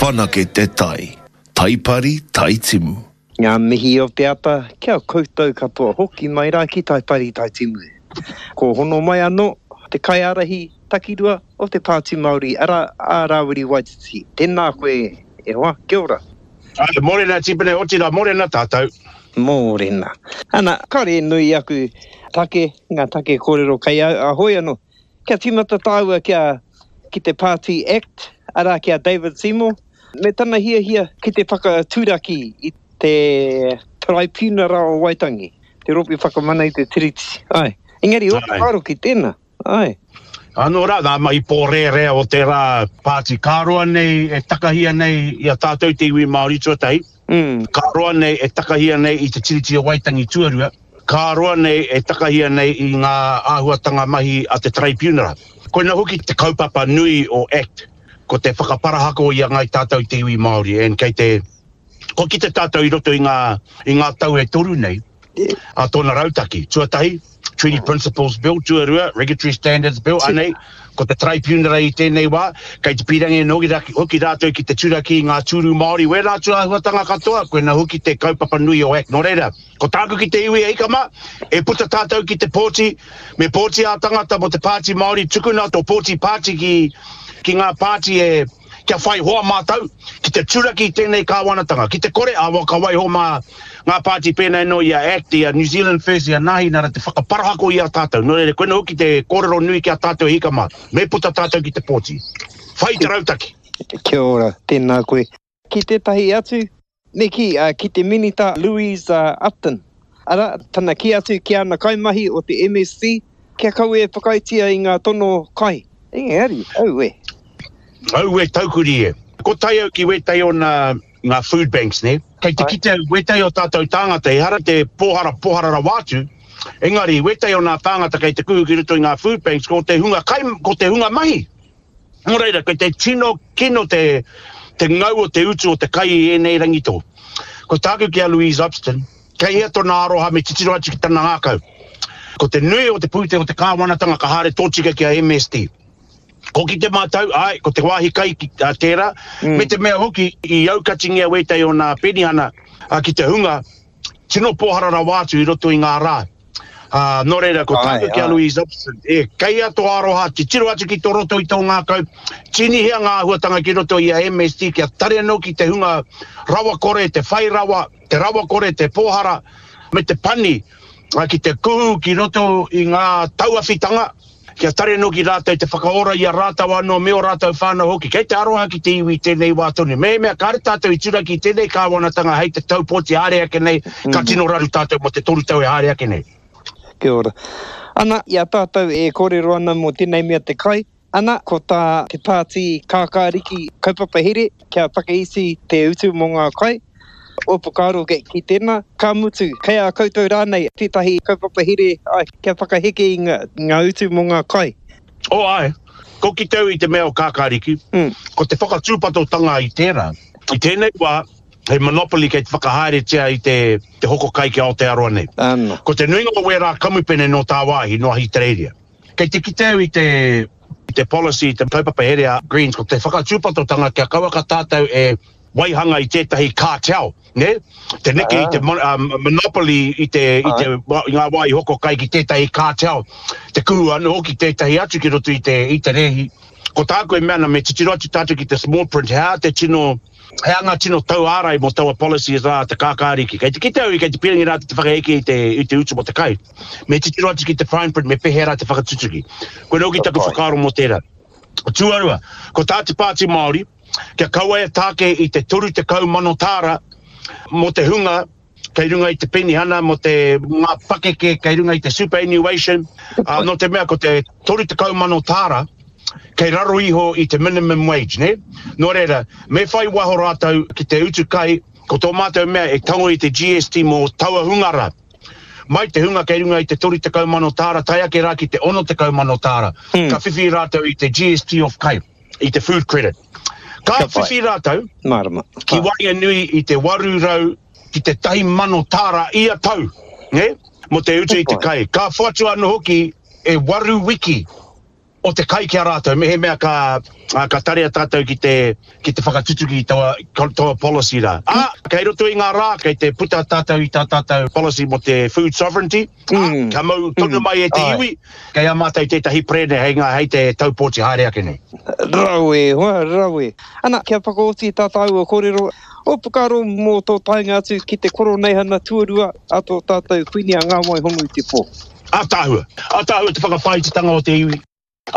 Whanake te tai. Taipari, Taitimu. Ngā mihi o te ata ki a koutou katoa hoki mai rā ki Taipari Taitimu. Ko hono mai anō te kaiārahi takirua o te Pāti Māori arā a Rāwiri Waititi. Tēnā koe e hoa, kia ora. Āe, mōrena Tipene, otirā mōrena tātou. Mōrena. Ana, kāore e nui aku take, ngā take kōrero kei au, a hoi anō. Kia tīmata tāua kia, ki te Pāti Act, arā ki a David Seymour, me tana hiahia ki te whakaturaki i te Taraipiunara o Waitangi, te Rōpū Whakamana i te Tiriti. Āe. Engari, ō whakaaro ki tēnā. Āe. Anō rā, ngā mahi pōrērea o tērā pāti ka roa nei e takahia nei i a tātou te iwi Māori tuatahi, ka roa nei e takahia nei i te Tiriti o Waitangi tuarua, ka roa nei e takahia nei i ngā āhuatanga mahi a te Taraipiunara. Koina hoki te kaupapa nui o act, ko te whakaparahako i a Ngāi Tātou te iwi Māori and kei te, kua kite tātou i roto i ngā, i ngā tau e toru nei, a tōna rautaki. Tuatahi, Treaty Principles Bill, tuarua, Regulatory Standards Bill, anei, ko te Taraipiunara i tēnei wā, kei te pīrangi anō hoki rātou ki te turaki i ngā tūru Māori, wērā atu āhuatanga katoa, koina hoki te kaupapa nui o Act. Nō reira, ko tāku ki te iwi e ika mā, e puta tātou ki te pōti, me pōti ā-tangata mō te Pāti Māori, tukuna tō pōti pāti ki, ki ngā pāti e, kia whai hoa mātou ki te turaki i tēnei kāwanatanga, ki te kore, awa ka waiho mā ngā pāti pēnei anō i a act, i a New Zealand First, i a Nāhinara te whakaparahako i a tātou. Nō reira, koina hoki te kōrero nui ki a tātou e hika mā, me puta tātou ki te pōti. Whai te rautaki. Kia ora, tēnā koe. Ki tētahi atu, me kī, ki te Minita Louise Upton, arā, tana kī atu ki ana kaimahi o te MSC, kia kaua e whakaaetia i ngā tono kai. Engari, aue. Aue taukuri e. Ko tae au ki wētahi o nā, ngā food banks, nē. Kei te kite au, wētahi o tātou tāngata, ehara te pōhara, pōhara rawa atu, engari, wētahi o nā tāngata kei te kuhu ki roto i ngā food banks, ko te hunga kai, ko te hunga mahi. Nō reira, kei te tino kino te, te ngau o te utu o te kai i ēnei rangi tō. Ko tāku ki a Louise Upston, kei hea tōna aroha me titiro atu ki tana ngākau. Ko te nui o te pūtea o te kāwanatanga ka haere tōtika ki a MSD. Ko ki te mātau, āe, ko te wāhi kai ki, a, tērā, mm. me te mea hoki i aukatingia wētahi o nā penihana a, ki te hunga tino pōhara rawa atu i roto i ngā rā. Ā, nō reira, ko tāku ki a Louise Upston, e, kei a tō aroha, titiro atu ki tō roto i tō ngākau, tīnihia ngā āhuatanga ki roto i a MSD kia tare anō ki te hunga rawakore, te whai rawa, te rawakore, te pōhara, me te pani, ā, ki te kuhu ki roto i ngā tauawhitanga, kia tare anō ki rātou te whakaora i a rātou anō me ō rātou whānau hoki. Kei te aroha ki te iwi i tēnei wā tonu. Mehemea kāre tātou i turaki i tēnei kāwanatanga hei te tau pōti haere ake nei, ka tino raru tātou mō te toru tau e haere ake nei. Kia ora. Ana, i a tātou e kōrero ana mō tēnei mea te kai, ana, ko tā te Pāti Kākāriki kaupapa here kia whakaiti te utu mō ngā kai, Ō whakaaro ki tēnā, ka mutu, kei a koutou rānei tētahi kaupapa here kia whakaheke i ngā utu mō ngā kai? Oh āe, ko ki te au i te mea o Kākāriki, ko te whakatūpatotanga i tērā, i tēnei wā, he monopoly kei te whakahaeretia i te te hoko kai ki Aotearoa nei. Ko te nuinga o wērā kamupene nō tāwāhi, nō Ahitereiria. Kei te kite au i te i te policy, i te kaupapa here a Greens, ko te whakatūpatotanga kia kauaka tātou e waihanga i tētahi cartel, nē? Te neke i te monopoly i te, i te, i ngā wā i hoko kai ki tētahi cartel, te kuhu anō hoki tētahi atu ki roto i te, i te rēhi. Ko tāku e mea ana me titiro atu tātou ki te small print, he aha te tino, he aha ngā tino tauārai mō taua policy rā te kākāriki. Kei te kite au i kei te pīrangi rātou te whakaheke i te, i te utu mō te kai. Me titiro atu ki te fine print me pēhea rā te whakatutuki. Koinā hoki taku whakaaro mō tērā. Tuarua, ko tā te Pāti Māori, kia kaua e tāke i te 30,000 tāra mō te hunga kei runga i te penihana, mō te ngā pakeke kei runga i te superannuation, ā, nō te mea ko te 30,000 tāra kei raro iho i te minimum wage, nē? Nō reira, me whai waho rātou ki te utu kai, ko tō mātou mea e tango i te GST mō taua hunga rā. Mai te hunga kei runga i te 30,000 tāra tae ake rā ki te 60,000 tāra, ka whiwhi rātou i te GST off kai. i te food credit. Ka whiwhi rātou Mārama. ki waenganui i te 800 ki te 1,000 tāra ia tau, nē, mō te utu i te kai. Ka whoatu anō hoki e waru wiki o te kai ki a rātou, mehemea ka, Ā, ka tarea tātou ki te, ki te whakatutuki i taua, taua policy rā. Ā, kei roto i ngā rā, kei te puta tātou i tā tātou policy mō te food sovereignty, ā, kia mau tonu mai e te iwi, kei a mātou tētahi perene hei ngā, hei te tau pōti haere ake nei. Rawe, hoa, rawe. Ana, kia whakaoti tā tāua kōrero, ō whakaaro mō tō taenga atu ki te Koroneihana tuarua a tō tātou Kuini a Ngā Waihono-i-te-pō. Ātaahua. Ātaahua te whakawhāititanga o te iwi.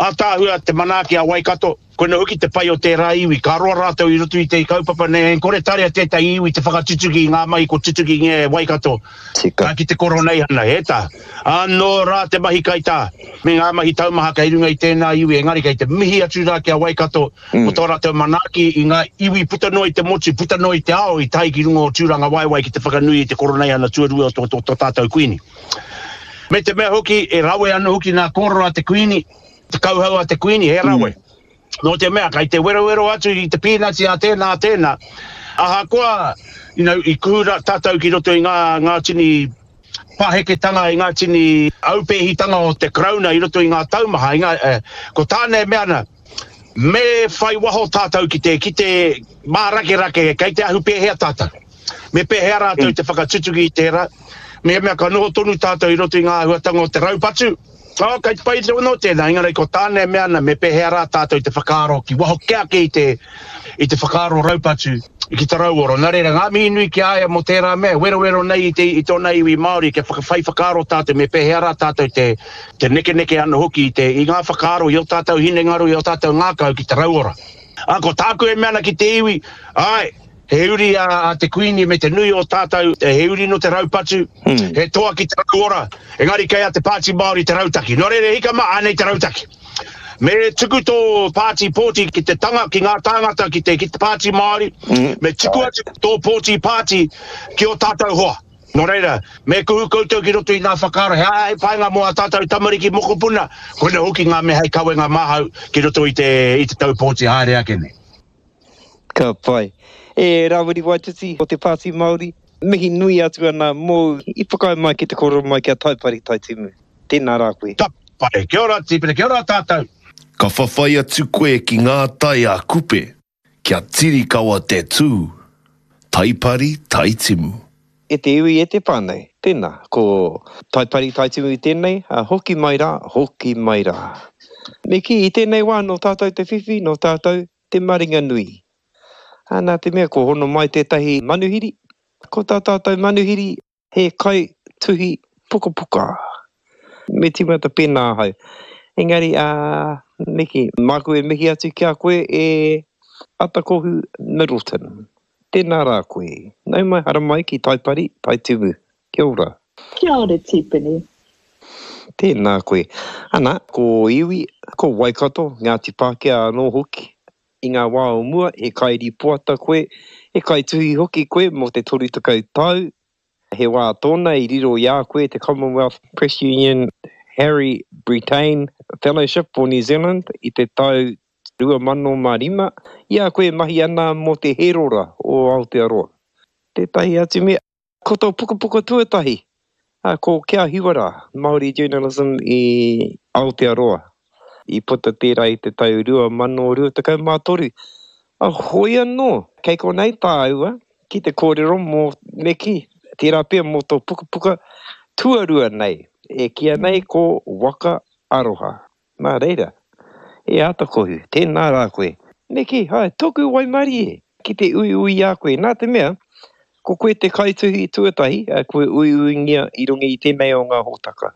Ātaahua te manaaki a Waikato, koina hoki te pai o tērā iwi, ka roa rātou i roto i te kaupapa nei, e kore tarea tētahi iwi te whakatutuki i ngā mahi ko tutukingia e Waikato Tika. ki te Koroneihana, he tā. Anō rā te mahi kaitā, me ngā mahi taumaha kei runga i tēnā iwi, engari kei te mihi atu rā ki a Waikato mō tō rātou manaaki i ngā iwi puta noa i te motu, puta noa i te ao i tae ki runga o Tūrangawaewae ki te whakanui i te Koroneihana tuarua o tō tātou Kuini. Me te mea hoki, e rawe ana hoki ngā kōrero a te Kuini, te kauhau a te Kuini, he rawe. Mm. Nō te mea, kei te werowero atu i te pīnati a tēnā, a tēnā. Ahakoa, you know, i kuhu tātou ki roto i ngā, ngā tini paheketanga, i ngā tini aupēhitanga o te Karauna i roto i ngā taumaha, i ngā, eh, ko tāna e mea ana, me whai waho tātou ki te, ki te mārakerake, kei te ahu pēhea tātou. Me pēhea rātou te whakatutuki i tērā? Mehemea ka noho tonu tātou i roto i ngā āhuatanga o te raupatu, oh, kei te pai anō tēnā, engari ko tāna e mea ana, me pēhea rā tātou te whakaaro ki waho kē ake i te, i te whakaaro raupatu ki te rauora. Nā reira, ngā mihi nui ki a ia mō tērā mea, werowero nei i, te, i tōna iwi Māori, kia whakawhai whakaaro tātou, me pēhea rā tātou te, te nekeneke anō hoki i, te, i ngā whakaaro, i ō tātou hinengaro, i ō tātou ngākau ki te rauora. Ā, ko tāku e mea ana ki te iwi, āe, He uri a te Kuini me te nui o tātou, he uri nō te raupatu, he toa ki te rauora, engari kei a te Pāti Māori te rautaki. Nō reira, hika mā, ānei te rautaki. Me tuku tō pāti pōti ki te tanga, ki ngā tāngata, ki te, ki te Pāti Māori, me tuku atu tō pōti pāti ki ō tātou hoa. Nō reira, me kuhu koutou ki roto i ngā whakaaro, he aha hei painga mō ā tātou tamariki mokopuna, koina hoki ngā mea hei kawenga māhau ki roto i te, i te tau pōti haere ake nei. Ka pai. E Rawiri Waititi o te Pāti Māori, mihi nui atu ana mōu i whakaae mai ki te kōrero mai ki a Taipari Taitimu. Tēnā rā koe. Ka pai. Kia ora Tipene, kia ora tātou. Ka whawhai atu koe ki ngā tai a Kupe, kia tirikawa te tū, Taipari Taitimu. E te iwi, e te whānau, tēnā, ko Taipari Taitimu tēnei, ā, hoki mai rā, hoki mai rā. Me kī, i tēnei wā nō tātou te whiwhi, nō tātou te maringanui. Ā, nā te mea kua hono mai tētahi manuhiri, ko tā tātou manuhiri he kai tuhi pukapuka. Me tīmata pēnā ahau. Engari, ā, me kī, māku e mihi atu ki a koe e Atakohu Middleton. Tēnā rā koe. Nau mai haramai ki Taipari, Taitimu. Kia ora. Kia ora Tipene. Tēnā koe. Ana, ko Iwi, ko Waikato, Ngāti Pākehā anō hoki. I ngā wā o mua, he kairīpoata koe, he kaituhi hoki koe mō te 30 tau. He wā tōna i riro i a koe te Commonwealth Press Union Harry Brittain Fellowship for New Zealand i te tau 2005, i a koe e mahi ana mō te Hērora o Aotearoa. Tētahi atu mea, ko tō pukapuka tuatahi, ko Kia Hiwa Rā, Māori Journalism i Aotearoa. I puta tērā i te tau 2023. Hoi anō, kei konei tāua ki te kōrero mō, me kī, tērā pea mō tō pukapuka tuarua nei, e kīia nei ko Waka Aroha. Nā reira, e Atakohu, tēnā rā koe. Me kī, hae, tōku waimarie ki te uiui i a koe, nā te mea, ko koe te kaituhi tuatahi kua uiuingia i runga i tēnei o ngā hōtaka.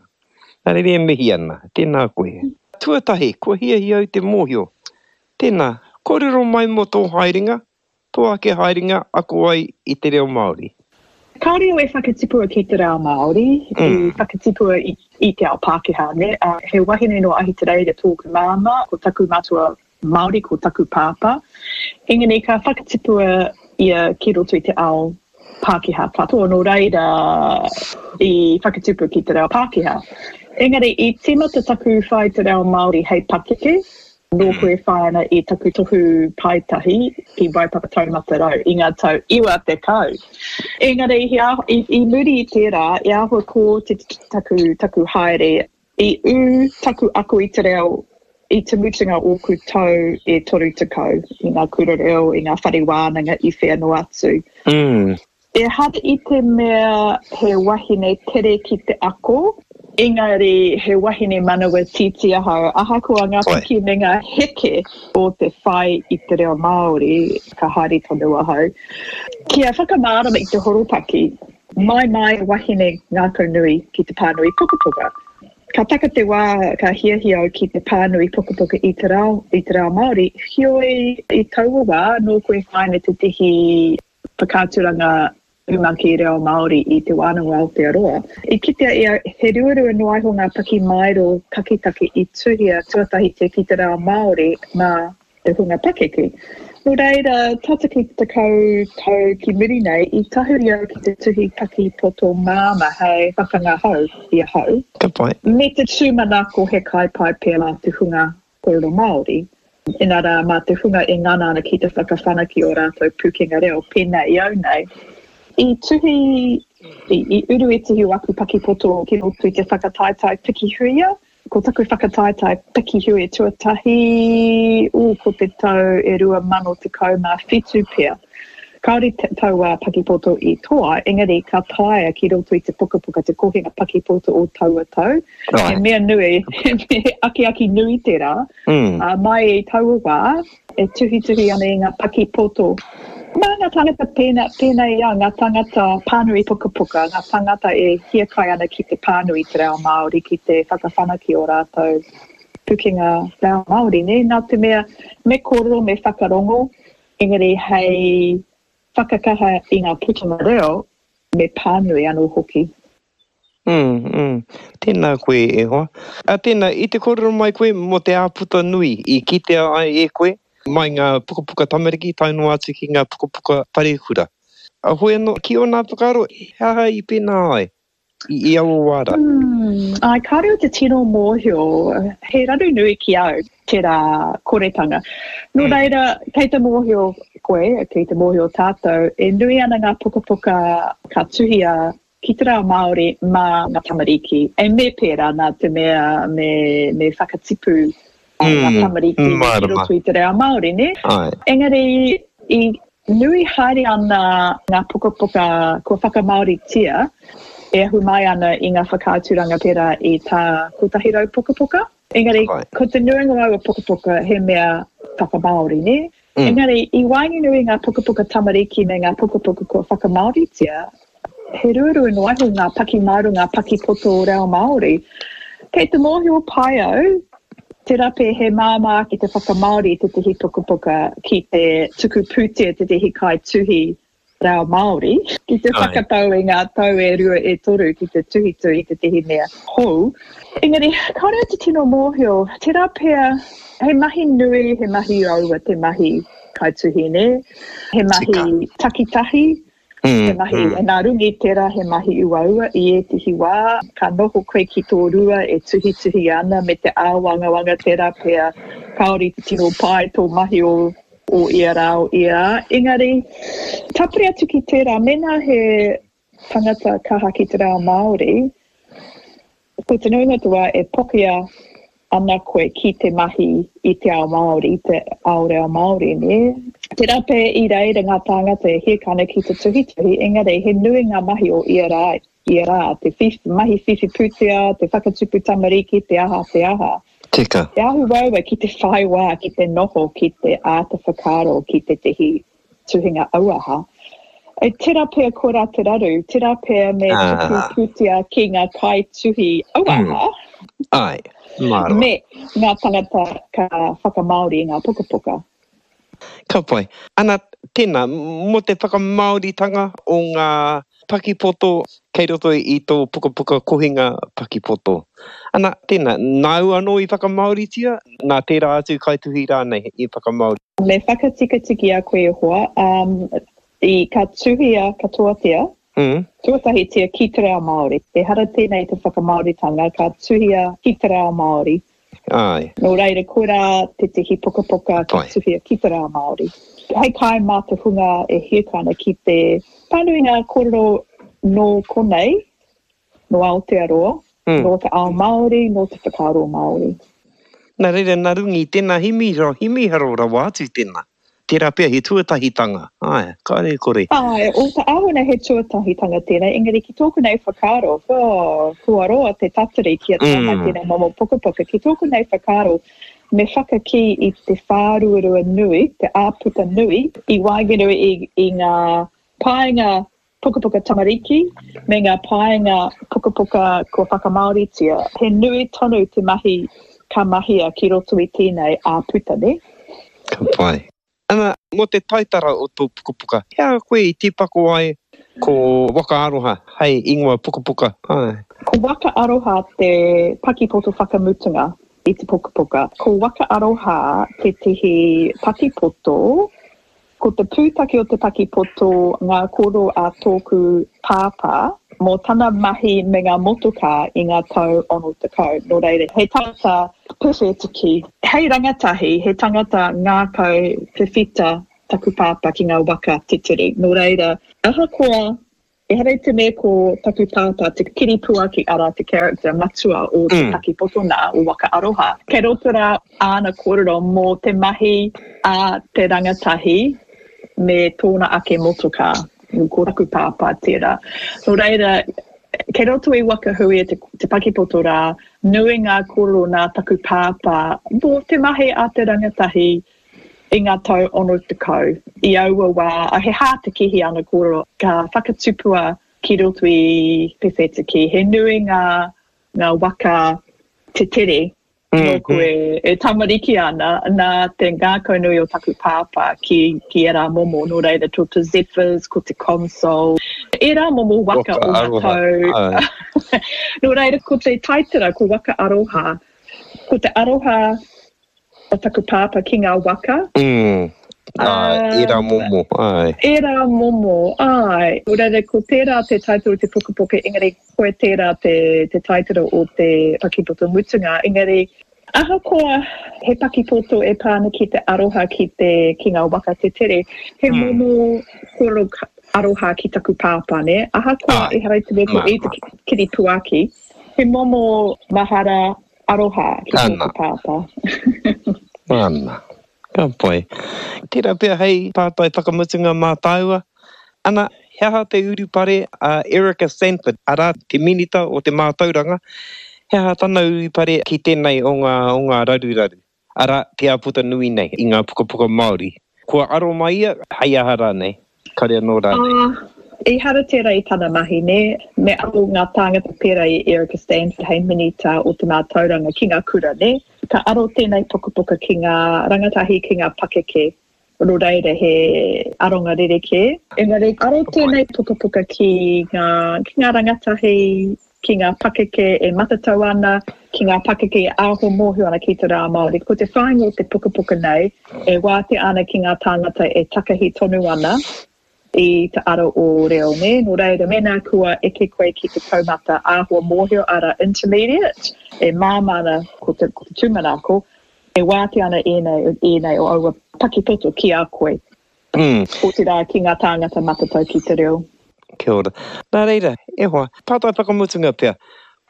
Nā reira e mihi ana, tēnā koe. Tuatahi, kua hiahia au te mōhio. Tēnā, kōrero mai mō tō haerenga, Tō ake haerenga ako ai i te reo Māori. Kāore au e whakatipua ki te reo Māori, i whakatipua i te ao Pākehā, nē. He wahine nō Ahitereiria tōku māmā, ko taku matua Māori ko taku pāpā. Engari ka whakatipua ia ki roto i te ao Pākehā katoa, nō reira i whakatupu ki te reo Pākehā. Engari i tīmata taku whai te reo Māori hei pakeke, nōku e whai ana i taku tohu paetahi ki Waipapa Taumata Rau i ngā tau 90. Engari i, i muri i tērā, i āhua kōtiti taku, taku haere, i ū taku ako i te reo. I te mutunga ōku tau e 30 i ngā kura reo, i ngā whare wānanga i whea noa atu. Mm. Ehara i te mea he wahine tere ki te ako, engari he wahine manawa tītī ahau, ahakoa ngā piki me ngā heke o te whai i te reo Māori, ka haere tonu ahau. Kia whakamārama i te horopaki, mai mai wahine ngākau nui ki te pānui pukapuka. Ka taka te wā ka hiahia au ki te pānui pukapuka i te reo, i te reo Māori, heoi i taua wā nōku e whai ana tētehi whakaaturanga rumaki reo Māori i Te Wānanga o Aotearoa. I kitea e au he ruarua noa iho ngā pakimaero taketake i tuhia tuatahitia ki te reo Māori mā te hunga pakeke. Nō reira, tata ki te 10 tau ki muri nei, i tahuri au ki te tuhi paki poto māmā hei whakangahau i ahau. Ka pai. Me te tūmanako he kai pai pea mā te hunga kōrero Māori, inarā mā te hunga e ngana ana ki te whakawhanake ō rātou pūkenga reo, pēnā i au nei. I tuhi, i, i uru ētahi o aku pakipoto ki roto i te whakataetae Piki Huia. Ko taku whakataetae Piki Huia tuatahi, ū, ko te tau e 2017 pea. Kāore taua pakipoto i toa, engari ka taea ki roto i te pukapuka te kohinga pakipoto o taua tau. He mea nui, he akiaki nui tērā. Mm. Uh, mai i taua wā, e tuhituhi ana i ngā pakipoto. Mā ngā tāngata pēnā, pēnā i au, ngā tāngata pānui pukapuka, ngā tāngata e hiakai ana ki te pānui te reo Māori, ki te whakawhanake o rātou pukenga reo Māori, nē? Nā te mea, me kōrero, me whakarongo, Engari hei whakakaha i ngā putanga reo me pānui anō hoki. Mm, mm. Tēnā koe e hoa. A tēnā, i te kōrero mai koe mō te āputa nui i kitea ai e koe mai ngā pukapuka tamariki tae noa atu ki ngā pukapuka parekura. A hoi anō, ki ōna whakaaro, he aha i pēnā ai? I aua wā rā. Mm, āe, kāore au te tino mōhio, he raru nui ki au tērā koretanga. Nō mm. reira, kei te mōhio koe, kei te mōhio tātou, e nui ana ngā pukapuka ka tuhia ki te reo Māori mā ngā tamariki. E me pērā nā te mea me, me whakatipu mm, ngā tamariki ki roto i te reo Māori, ne? Ai. Engari, i Nui haere ana ngā pukapuka kua whakamāoritia e ahu mai ana i ngā whakaaturanga pērā i tā 100 Pukapuka. Engari, ko te nuinga o aua pukapuka he mea whakamāori, nē? Engari, i waenganui i ngā pukapuka tamariki me ngā pukapuka kua whakamāoritia, He ruarua noa iho ngā pakimaero, ngā pakipoto reo Māori. Kei te mōhio pai au, tērā pea he māmā ake te whakamāori i tētehi pukapuka ki te tuku pūtea tētehi kaituhi reo Māori, ki te whakatau i ngā tau e rua e toru ki te tuhituhi i tētehi mea hou. Engari, kāore au te tino mōhio, tērā pea he mahi nui, he mahi uaua te mahi kaituhi, nē? He mahi takitahi, He mahi nā runga i tērā he mahi uaua i ētehi wā, ka noho koe ki tō rua e tuhituhi ana me te āwangawanga tērā pea kāore i te tino pai tō mahi o o ia rā o ia rā. Engari, tāpiri atu ki tērā, mēnā he tangata kaha ki te reo Māori, Ko te nuinga o te wā e pokia ana koe ki te mahi i te ao Māori, te ao reo Māori, nē? Tērā pea i reira ngā tāngata e hiaka ana ki te tuhituhi, engari he nui ngā mahi o ia rā, ia rā, te whiwhi, mahi whiwhi pūtea, te whakatupu tamariki, te aha, te aha. Tika. Te ahu uaua ki te whai wā, ki te noho, ki te āta whakaaro ki tētehi tuhinga auaha. E tera pea koira te raru, tera pea me tuku ah. pūtea ki ngā kaituhi auaha. Mm. Ai, mārama. Me ngā tangata ka whakamāori i ngā pukapuka. Ka pai. Ana, tēnā, mō te whakamāoritanga o ngā pakipoto kei roto i tō pukapuka kohinga pakipoto. Ana, tēnā, nāu anō i whakamāoritia, nā tērā atu kaituhi rānei i whakamāori? Me whakatikatiki a koe e hoa, um, i ka tuhia katoatia, mm. tuatahitia ki te reo Māori. Ehara tēnei te whakamāoritanga, ka tuhia ki te reo Māori. Ai. Nō reira, koirā tētehi pukapuka ka tuhia ki te reo Māori. Hei kai mā te hunga e hiahia ana ki te pānui ngā kōrero nō konei, nō Aotearoa, mm. nō te ao Māori, nō te whakaaro Māori. Nā reira, nā runga i tēnā himi, himiharo rawa atu tēnā. Tērā pea he tuatahitanga, āe, kāre e kore. Āe, o te āhuna he tuatahitanga tēnei, engari ki tōku nei whakaaro, oh, kua roa te tatari kia tae mai tēnei momo pukapuka, ki tōku nei whakaaro, me whakakī i te whāruarua nui, te āputa nui, i waenganui i, i ngā paenga pukapuka tamariki me ngā paenga pukapuka kua whakamāoritia, he nui tonu te mahi ka mahia ki roto i tēnei āputa, nē? Ka pai. Ana, mō te taitara o tō pukapuka, he aha koe i tīpako ai ko Waka Aroha hei ingoa pukapuka? Āe. Ko Waka Aroha te pakipoto whakamutunga i te pukapuka. Ko Waka Aroha tētehi pakipoto Ko te pūtake o te pakipoto ngā kōrero a tōku pāpā mō tana mahi me ngā motokā i ngā tau 60. Nō reira, he tangata pewhetiki. Hei rangatahi, he tangata ngākau whiwhita taku pāpā ki ngā waka teteri. Nō reira, ahakoa Ehara i te mea ko taku pāpā te kiripuaki arā te character matua o te pakipoto nā, o Waka Aroha. Kei roto rā āna kōrero mō te mahi a te rangatahi me tōna ake motokā. Ko taku pāpā tērā. Nō reira, kei roto i Waka Huia te, te pakipoto rā, nui ngā kōrero nā taku pāpā mō te mahi a te rangatahi I ngā tau 60, i aua wā, he hātekehi ana kōrero, ka whakatupua ki roto i Pewhetiki. He nui ngā, ngā waka tetere nōku e, e tamariki ana, nā te ngākaunui o taku pāpā ki, ki ērā momo, nō reira, ko te Zephyrs, ko te Consol, ērā momo waka, waka o ngā tau. Nō reira, ko te taitara, ko Waka Aroha, ko te aroha o taku pāpā ki ngā waka. Mm. Āe, ērā momo, āe. Ērā momo, āe. Nō reira, ko tērā te taitara o te pukapuka, engari koe tērā te, te taitara o te pakipoto mutunga. Engari, ahakoa he pakipoto e pā ana ki te aroha ki te, ki ngā waka te tere, he mm. momo kōrero aroha ki taku pāpā, nē? Ahakoa ehara i te mea ko i te kiripuaki, he momo mahara Aroha ki tōku pāpā. Ana. Ka pai. Tērā pea hei pātai whakamutunga mā tāua. Ana, he aha te urupare a Erika Sanford, arā, te Minita o te Mātauranga, he aha tana urupare ki tēnei o ngā, o ngā raruraru, arā, te āputa nui nei i ngā pukapuka Māori? Kua aro mai ia, hei aha rānei? Kare anō rānei? Ā, ehara tērā i tana mahi, nē? Me aro ngā tāngata pērā i Erica Stanford hei Minita o te Mātauranga ki ngā kura, nē? Ka aro tēnei pukapuka ki ngā rangatahi, ki ngā pakeke, nō reira he aronga rerekē. Engari, aro tēnei pukapuka ki ngā, ki ngā rangatahi, ki ngā pakeke e matatau ana, ki ngā pakeke e āhua mōhio ana ki te rā Māori. Ko te whāinga o te pukapuka nei, e wātea ana ki ngā tāngata e takahi tonu ana i te ara o reo, nē? Nō reira, mēnā kua eke koe ki te taumata āhua mōhio, arā, intermediate, e māmā ana ko te, ko te tūmanako, e wātea ana ēnei, ēnei o aua pakipoto ki a koe. Otirā ki ngā tāngata matatau ki te reo. Kia ora. Nā reira, e hoa, pātai whakamutunga pea.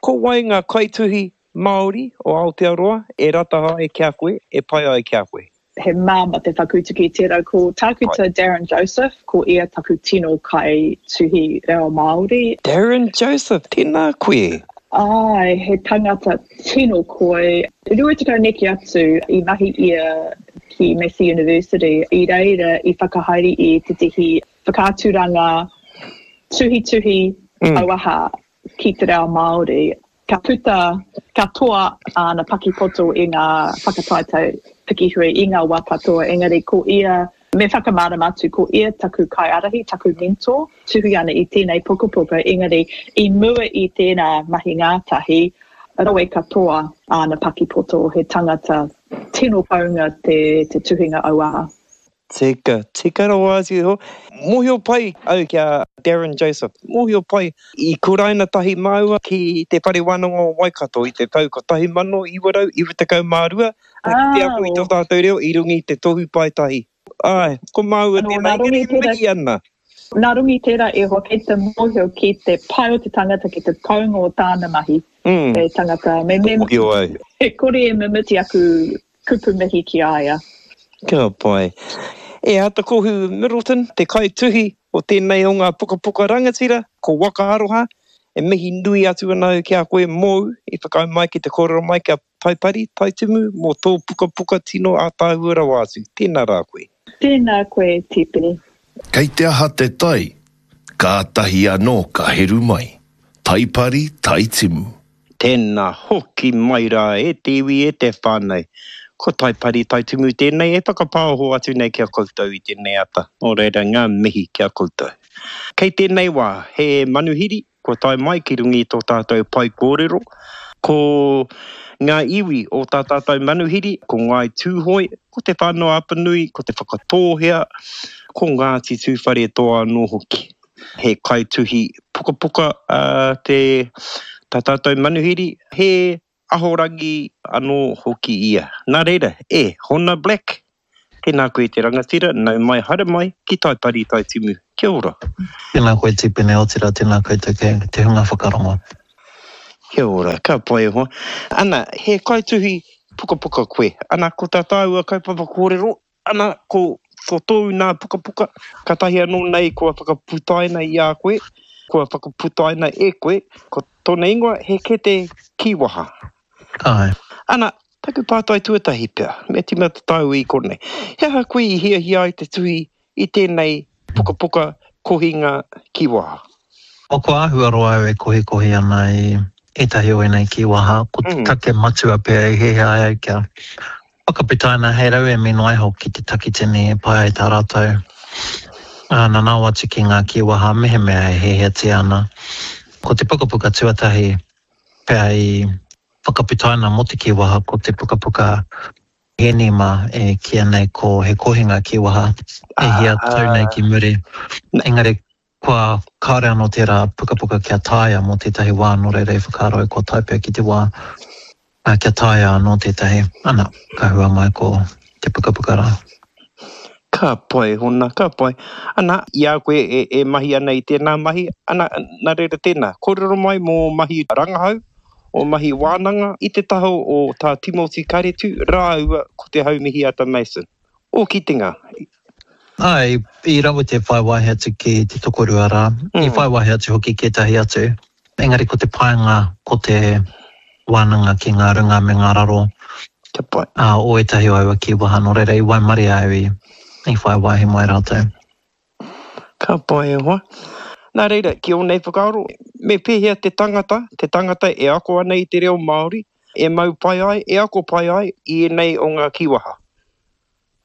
Ko wai ngā kaituhi Māori o Aotearoa e rata ai ki a koe, e pai ai ki a koe? He māmā te whakautu ki tērā. Ko Tākuta Darryn Joseph, ko ia taku tino kaituhi reo Māori. Darryn Joseph, tēnā koe. Āe, he tangata tino koi. 20 neke atu i mahi ia ki Massey University, i reira i whakahaere i tētehi whakaaturanga tuhituhi auaha ki te reo Māori. Ka puta katoa āna pakipoto i ngā whakataetae pikihui i ngā wā katoa, engari ko ia, me whakamārama atu, ko ia taku kaiārahi, taku mentor, tuhi ana i tēnei pukapuka, engari i mua i tērā mahi ngātahi, rawe katoa āna pakipoto, he tangata tino kounga te tuhinga auaha. Tika, tika rawa atu iho. Mōhio pai au ki a Darryn Joseph. Mōhio pai. I kuraina tahi māua ki Te Whare Wānanga o Waikato i te tau 1992, ka kite aku i tō tātou reo i runga i te tohu paetahi. Āe, ko māua tēnā, engari e mihi ana. Nā runga i tērā e hoa, kei te mōhio ki te pai o te tangata, ki te kounga o tāna mahi. Mm. He tangata, me, me, Mōhio au. E kore e mimiti aku kupu mihi ki a ia. Ka pai. E Atakohu Middleton, te kaituhi o tēnei o ngā pukapuka rangatira, ko Waka Aroha, e mihi nui atu ana au ki a koe mōu i whakaae mai ki te kōrero mai kia Taipari, Taitimu, mō tō pukapuka tino ātaahua rawa atu. Tēnā rā koe. Tēnā koe, Tipene. Kei te aha te tai, kātahi anō ka heru mai. Taipari, Taitimu. Tēnā hoki mai rā e te iwi, e te whānau. Ko Taipari, Taitimu tēnei e whakapāoho atu nei ki a koutou i tēnei ata. Nō reira, ngā mihi ki a koutou. Kei tēnei wā, he manuhiri Kua tae mai ki runga i tō tātou pae kōrero, ko ngā iwi o tā tātou manuhiri, ko Ngāi Tūhoe, ko Te Whānau-a-Apanui, ko Te Whakatōhea, ko Ngāti Tūwharetoa anō hoki. He kaituhi pukapuka te tā tātou manuhiri, he Ahorangi anō hoki ia. Nā reira, e Hona Black, tēnā koe te rangatira, nau mai haere mai ki Taipari Taitimu. Kia ora. Tēnā koe Tipene, otirā tēnā koutou kei te hunga whakarongo. Kia ora, ka pai e hoa. Ana, he kaituhi pukapuka koe. Ana, ko tā tāua kaupapa kōrero, Ana, ko, ko tōu nā pukapuka, kātahi anō nei kua whakaputaina i a koe, kua whakaputaina e koe, ko tōna ingoa he kete kīwaha. Āe. Ana, taku pātai tuatahi pea, me tīmata tāua i konei. He aha koe i hiahia ai te tuhi i tēnei pukapuka kohinga kīwaha? O Kua āhua roa au e kohikohi ana i ētahi o ēnei kīwaha, ko te take matua pea i hiahia ai au kia whakaputaina hei rauemi noa iho ki te takitini e pai ai tā rātou nanao atu ki ngā kīwaha mehemea e hiahiatia ana. Ko te pukapuka tuatahi pea i whakaputaina mō te kīwaha ko te pukapuka Hēni mā e kīia nei ko He Kohinga Kīwaha e hia tau nei ki muri. Engari kua kāore anō tērā pukapuka kia tāia mō tētahi wā nō reira i whakaaro au kua tae pea ki te wā kia tāia anō tētahi, ana, ka hua mai ko te pukapuka rā. Ka pai Hona, ka pai. Ana, i a koe e, e mahi ana i tēnā mahi, ana, nā reira tēnā, kōrero mai mō mahi rangahau, o mahi wānanga i te taha o Tā Timoti Karetu rāua ko Te Haumihiata Mason. Ō kitenga. Āe, i rawe te whai wāhi atu ki te tokorua rā, i whai wāhi atu hoki ki ētahi atu, engari ko te painga ko te wānanga ki ngā runga me ngā raro o ētahi o aua kīwaha, nō reira i waimarie au i whai wāhi mai rātou. Ka pai e hoa. Nā reira, ki ō nei whakaaro, me pēhea te tangata, te tangata e ako ana i te reo Māori, e mau pai ai, e ako pai ai i ēnei o ngā kīwaha?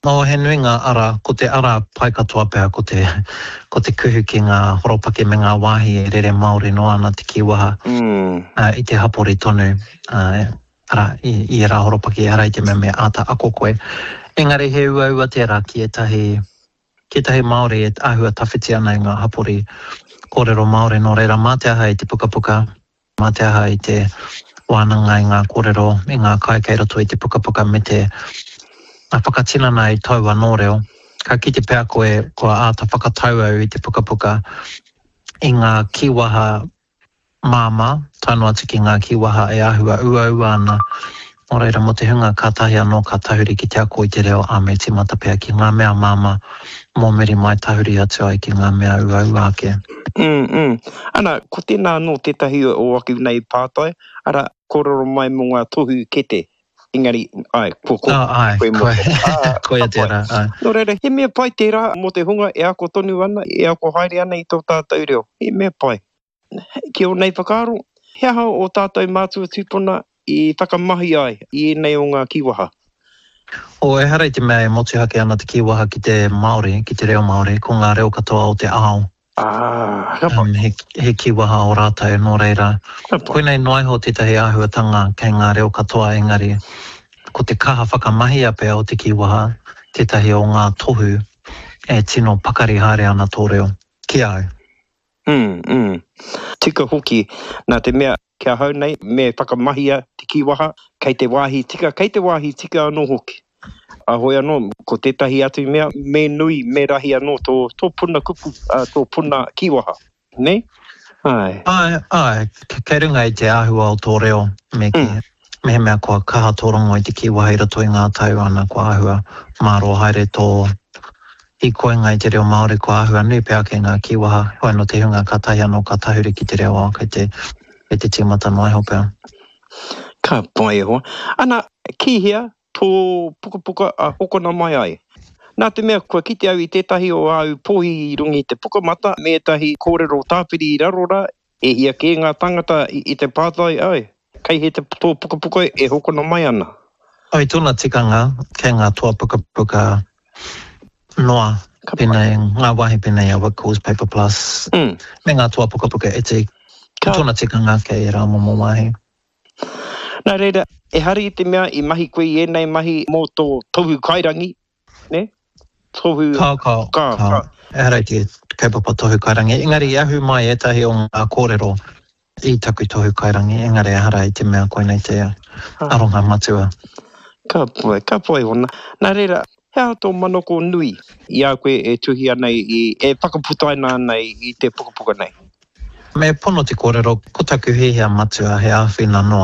Nō, he nui ngā ara, ko te ara pai katoa pea ko te, ko te kuhu ki ngā horopaki me ngā wāhi e rere māori noa ana te kīwaha i te hapori tonu, arā, i, i ērā horopaki ehara i te mea me āta ako koe. Engari he uaua tērā ki ētahi Ki ētahi Māori e āhua tawhiti ana i ngā hapori kōrero Māori, nō reira mā te aha i te pukapuka, mā te aha i te wānanga i ngā kōrero, i ngā kai kei roto i te pukapuka me te whakatinana i tōu anō reo. Ka kite pea koe kua āta whakatau au i te pukapuka i ngā kīwaha māmā, tae noa atu ki ngā kīwaha e āhua uaua ana. Nō reira, mō te hunga kātahi anō ka tahuri ki te ako i te reo, ā, me tīmata pea ki ngā mea māmā, mō muri mai tahuri atu ai ki ngā mea uaua ake. Mm, mm. Ana, ko tēnā anō tētahi o aku nei pātai, arā, kōrero mai mō ngā tohu kete, engari, āe, kua kōrero oh, āe, koe mō koe, ā, koia tērā, āe. Nō reira, he mea pai tērā mō te hunga e ako tonu ana, e ako haere ana i tō tātou reo. He mea pai. Ki ō nei whakaaro, he aha ō tātou mātua tūpuna i whakamahi ai i ēnei o ngā kīwaha? O, ehara i te mea e motuhake ana te kīwaha ki te Māori, ki te reo Māori, ko ngā reo katoa o te ao. Ah, ka pai. He, he kīwaha o rātou, nō reira, koinei noa iho tētahi āhuatanga kei ngā reo katoa engari, ko te kaha whakamahia pea o te kīwaha tētahi o ngā tohu e tino pakari haere ana tō reo, ki a au. Mm, mm. Tika hoki, nā te mea, ki ahau nei, me whakamahia te kīwaha, kei te wāhi tika, kei te wāhi tika anō hoki. Ahoi anō, ko tētahi atu mea, me nui, me rahi anō tō, tō puna kupu, tō puna kīwaha, nē? Āe. Āe, āe, kei runga i te āhua o tō reo, me kī, mehemea kua kaha tō rongo i te kīwaha i roto i ngā tau, ana, kua āhua mārō haere tō hīkoinga i te reo Māori, kua āhua nui pea ake ngā kīwaha, heoi anō te hunga kātahi anō ka tahuri ki te reo, ā, kei te, kei te tīmata noa iho pea. Ka pai e hoa. Ana, ki hea tō pukapuka a hokona mai ai? Nā te mea kua kite au i tētahi o āu pōhi i runga i te pukamata me ētahi kōrero tāpiri i raro rā, e hia kē ngā tāngata i te pātai, Ai, kei hea tō pukapuka e hokona mai ana? I tōna tikanga, kei ngā toa pukapuka noa, pēnei, ngā wāhi pēnei a Whitcoulls, Paper Plus, me ngā toa pukapuka iti. Ko tōna tikanga kei ērā momo wāhi. Nā reira, ehara i te mea i mahi koe i ēnei mahi mō tō tohu kairangi, nē? Tohu... Kao, kao, kao. Kao. Ehara i te kaupapa tohu kairangi, engari i ahu mai ētahi o ngā kōrero i taku tohu kairangi, engari ehara i te mea koinei te aronga matua. Ka pai, ka pai hona. Nā reira, he aha tō manako nui i a koe e tuhi ana i, e whakaputaina ana i te pukapuka nei? Me pono te kōrero, ko taku hiahia matua he āwhina noa.